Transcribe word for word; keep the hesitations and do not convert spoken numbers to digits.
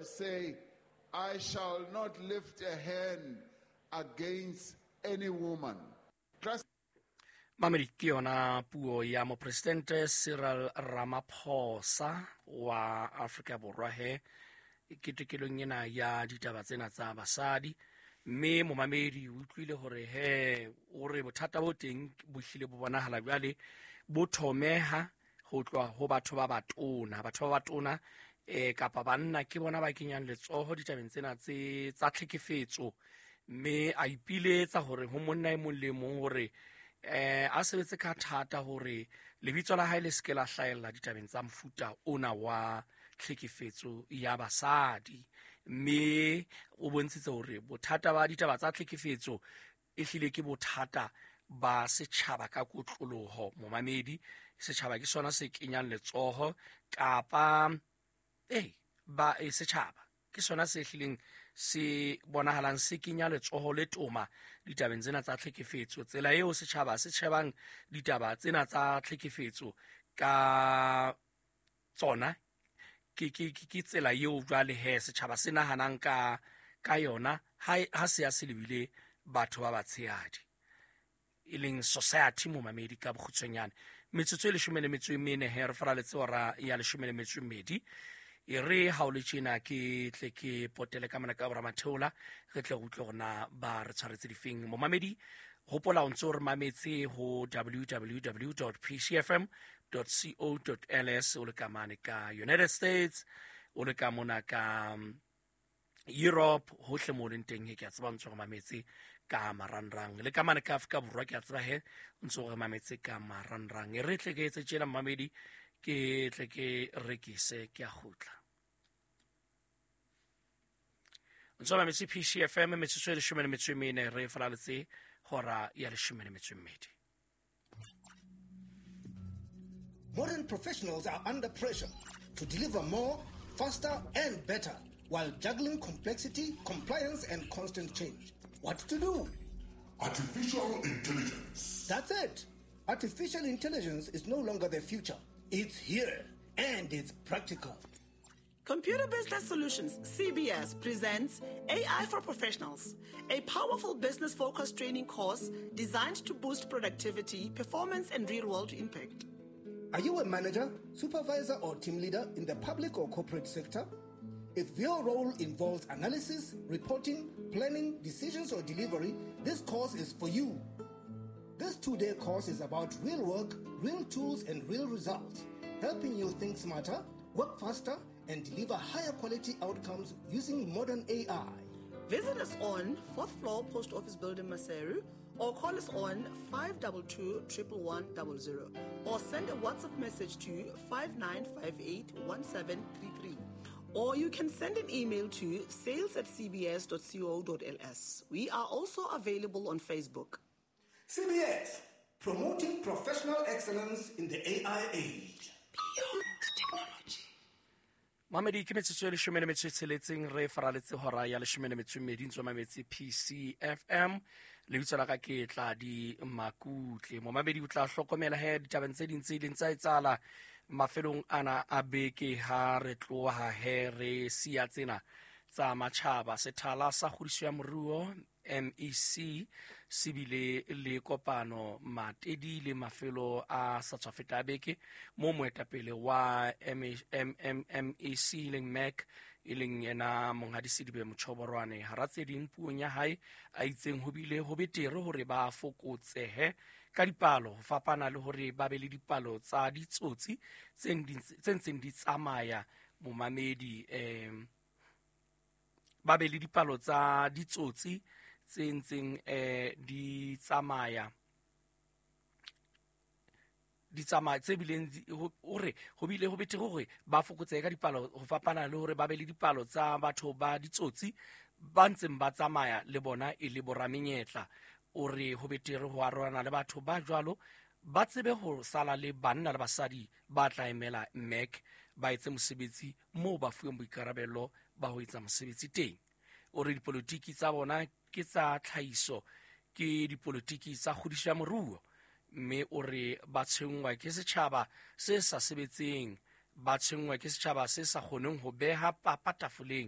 say, I shall not lift a hand against any woman. Trust Mamedi, ke yona puo ya mopresidente Cyril Ramaphosa wa Afrika Borwa he ketekelong ena ya ditaba tsena tsa basadi. Mme momamedi, o utlwile hore he o re bothata bo teng bo hlile bo bonahala jwale bo thomeha ho tloha ho batho ba batona. Batho ba batona eh kapa banna ke bona ba kenyang letsoho ditabeng tsena tse tsa tlhekefetso, mme a ipiletsa hore ho monna e mong le mong hore eh a sebetse ka thata hore lebitso la hae le se ke la hlahella ditabeng tsa mofuta ona wa tlhekefetso ya basadi. Mme o bontshitse hore bothata ba ditaba tsa tlhekefetso e hlile ke bothata ba setjhaba ka kotloloho. Momamedi, setjhaba ke sona se kenyang letsoho kapa eh ba e setjhaba ke sona se hlileng se bonahalang se kenya letsoho le toma ditabeng tsena tsa tlhekefetso. Tsela eo setjhaba se shebang ditaba tsena tsa tlhekefetso ka tsona ke ke ke tsela eo jwale he setjhaba se nahanang ka ka yona ha ha se ya se lebile batho ba batshehadi, e leng society. Momamedi, ka bokgutshwanyane, metsotso e leshome le metso e mene he re faraletse hora ya leshome le metso e mmedi. E re ha o le tjena ke tle ke potele ka mona ka boramatheola, re tle re utlwe hore na ba re tshwaretse difeng. Momamedi, hopola o ntse o re mametse ho w w w dot p c f m dot co dot l s, o le ka mane ka United States, o le ka mona ka Europe, hohle mo leng teng he ke a tseba ntse re mametse ka marangrang, le ka mane ka Afrika Borwa ke a tseba he ntse re mametse ka marangrang. E re tle ke etse tjena, mamedi, ke tle ke rekise, ke a kgutla. Ntse mametse P C F M, metsotso e leshome le metso e mene re falaletse hora ya leshome le metso e mmedi. Modern professionals are under pressure to deliver more, faster, and better while juggling complexity, compliance, and constant change. What to do? Artificial intelligence. That's it. Artificial intelligence is no longer the future. It's here and it's practical. Computer Business Solutions, C B S, presents A I for Professionals, a powerful business focused training course designed to boost productivity, performance, and real world impact. Are you a manager, supervisor, or team leader in the public or corporate sector? If your role involves analysis, reporting, planning, decisions, or delivery, this course is for you. This two day course is about real work, real tools, and real results, helping you think smarter, work faster, and deliver higher quality outcomes using modern A I. Visit us on fourth floor, Post Office Building, Maseru, or call us on five two two one one zero zero or send a WhatsApp message to five nine five eight one seven three three. Or you can send an email to sales at c b s dot co dot l s. We are also available on Facebook. C B S, promoting professional excellence in the A I age. Beyond technology. Mamedi, ke metsotso e leshome le metso e tsheletseng re faraletse hora ya leshome le metso e mmedi. Ntse mametse P C F M, lebitso la ka ke Tladi Makutle. Momamedi, o tla hlokomela he ditabeng tse ding tse ileng tsa etsahala mafelong ana a beke ha re tloha he re siya tsena tsa matjhaba. Sethala sa kgodiso ya moruo, M E C, se bile le kopano Matedi le mafelo a sa tswa feta a beke, mo moetapele wa M E C e leng Mac, e leng yena monghadi Sedibe Mochoboroane, hara tse ding puong ya hae a itseng ho bile ho betere hore ba fokotsehe ka dipalo ho fapana le hore ba be le dipalo tsa ditsotsi tse ntseng di tsamaya. Momamedi, um ba be le dipalo tsa ditsotsi tse ntseng eh di tsamaya di tsamaya tse bileng hore ho bile ho betere hore ba fokotsehe ka dipalo ho fapana le hore ba be le dipalo tsa batho ba ditsotsi ba ntseng ba tsamaya le bona e le boramenyetla. O re ho betere ho arolana le batho ba jwalo, ba tsebe ho sala le banna le basadi ba tla emela M E C, ba etse mosebetsi moo ba fuweng boikarabelo ba ho etsa mosebetsi teng. O re dipolotiki tsa bona ke tsa tlhahiso, ke dipolotiki tsa kgodiso ya moruo, mme o re ba tshwenngwa ke setjhaba se sa sebetseng, ba tshwenngwa ke setjhaba se sa kgoneng ho beha papa tafoleng.